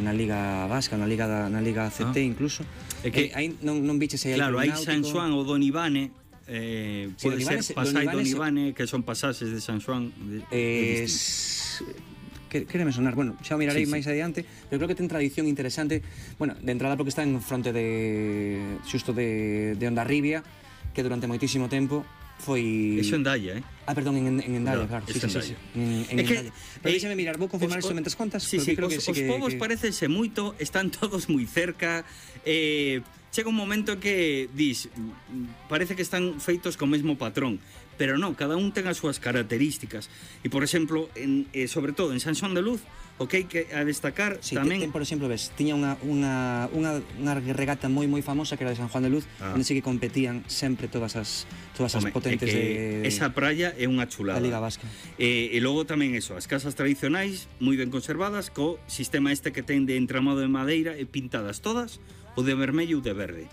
na Liga Vasca, na Liga ACT incluso. É que aí non biches aí. Claro, hai San Xoán ou Don Ivane, pode ser Pasai Don Ivane, que son pasaxes de San Xoán. Quéreme sonar, bueno, xa o mirarei máis adiante, pero creo que ten tradición interesante, bueno, de entrada porque está en fronte xusto de Hondarribia, que durante moitísimo tempo foi... Eso en Dalla, perdón, en Endaya, claro, sí. En Endaya. Pero deixame mirar, vou confirmar isto mentres contas. Sí, os povos parecense moito, están todos moi cerca, chega un momento que dis, parece que están feitos co mesmo patrón, pero non, cada un ten as súas características. E, por exemplo, sobre todo en San Xoán de Luz, o que hai que destacar tamén... Por exemplo, ves, tiña unha regata moi famosa que era de San Juan de Luz, onde sí que competían sempre todas as potentes de... Esa praia é unha chulada. Da Liga Vasca. E logo tamén eso, as casas tradicionais, moi ben conservadas, co sistema este que ten de entramado de madeira e pintadas todas, o de vermello ou de verde.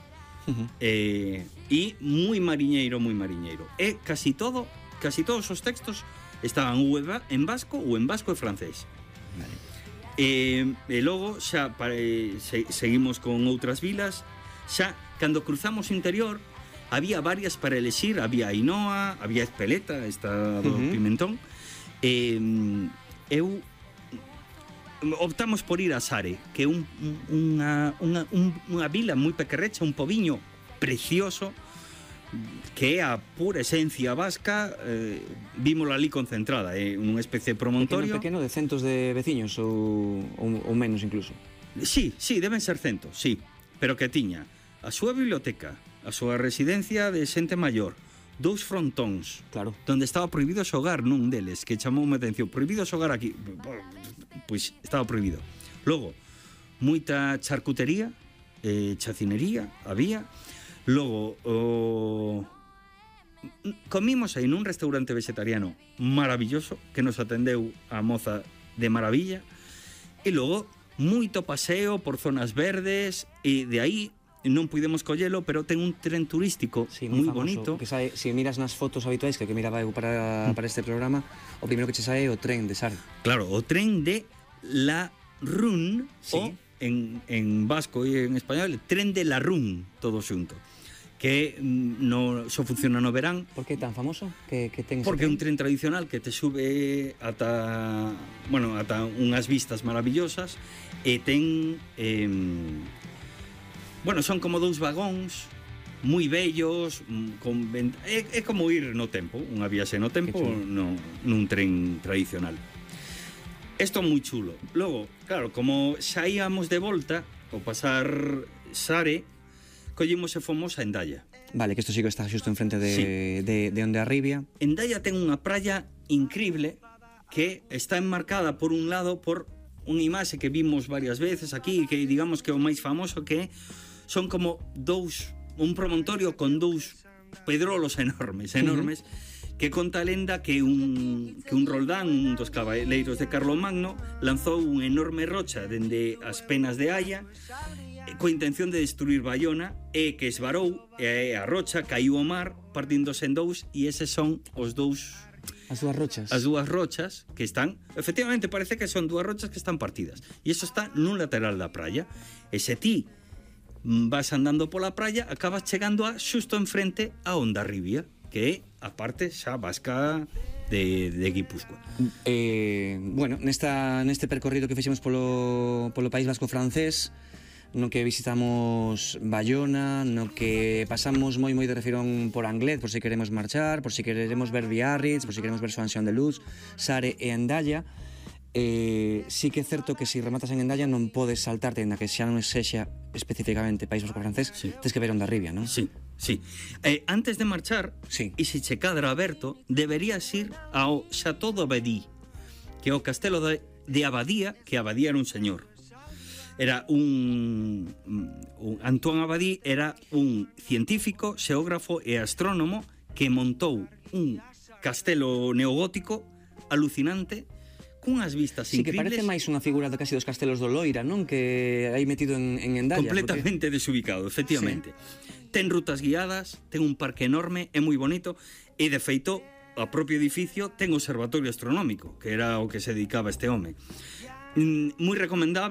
E moi mariñeiro. E casi todos os textos estaban ou en vasco ou en vasco e francés. Vale. E logo xa seguimos con outras vilas. Xa cando cruzamos o interior había varias para elexir, había Ainoa, había Espeleta, esta do Pimentón. Eu optamos por ir a Sare, que é unha vila moi pequerrecha, un pobiño precioso, que é a pura esencia vasca. Vímola ali concentrada, é unha especie de promontorio pequeno de centos de veciños ou menos incluso. Sí, deben ser centos, sí, pero que tiña a súa biblioteca, a súa residencia de xente maior, 2 frontóns, claro, donde estaba prohibido xogar nun deles, que chamou a atención, prohibido xogar aquí, pois estaba prohibido. Logo, moita charcutería, chacinería había. Logo, comimos aí nun restaurante vegetariano maravilloso, que nos atendeu a moza de maravilla. E logo, moito paseo por zonas verdes, e de aí non pudemos collelo, pero ten un tren turístico moi bonito. Que sae, se miras nas fotos habituais que miraba eu para este programa, o primeiro que che sae é o tren de Sare. Claro, o tren de la Run, o en vasco e en español, tren de la Run, todo xunto, que só funciona no verán. Por que tan famoso? Porque é un tren tradicional que te sube ata unhas vistas maravillosas, e ten son como 2 vagóns moi bellos, é como ir no tempo, unha viaxe no tempo nun tren tradicional. Isto é moi chulo. Logo, claro, como xa íamos de volta ao pasar Sare, collimos e fomos a Endaya. Vale, que isto sí que está xusto enfrente de Hondarribia. Endaya ten unha praia increíble que está enmarcada por un lado por unha imaxe que vimos varias veces aquí, que digamos que é o máis famoso, que son como un promontorio con 2 pedrolos enormes, que conta a lenda que un Roldán, un dos cabaleiros de Carlomagno, lanzou unha enorme rocha dende as penas de Haya, coa intención de destruir Baiona, e que esvarou, e a rocha caiu ao mar, partíndose en 2, e eses son os 2... As dúas rochas que están, efectivamente parece que son 2 rochas que están partidas, e iso está nun lateral da praia. E se ti vas andando pola praia, acabas chegando xusto enfrente a Hondarribia, que é a parte xa vasca de Guipúzcoa. Neste percorrido que fixemos polo País Vasco francés, no que visitamos Baiona, no que pasamos moi de refirón por Anglet, por se queremos marchar, por se queremos ver Biarritz, por se queremos ver San Xoán de Luz, Sare e Endaya. Sí que é certo que se rematas en Endaya non podes saltarte, na que xa non sexa especificamente País Vasco francés, tens que ver Hondarribia, non? Sí. Antes de marchar, e se che cadra aberto, deberías ir ao Chateau d'Abadie, que é o castelo de Abadía, que Abadía era un señor. Era Antoine Abadie era un científico, xeógrafo e astrónomo que montou un castelo neogótico alucinante, cunhas vistas increíbles. Sí, que parece máis unha figura de casi dos castelos do Loira, non? Que hai metido en Endaya. Completamente desubicado, efectivamente. Ten rutas guiadas, ten un parque enorme, é moi bonito, e de feito, o propio edificio ten observatorio astronómico, que era o que se dedicaba este home. Moi recomendable.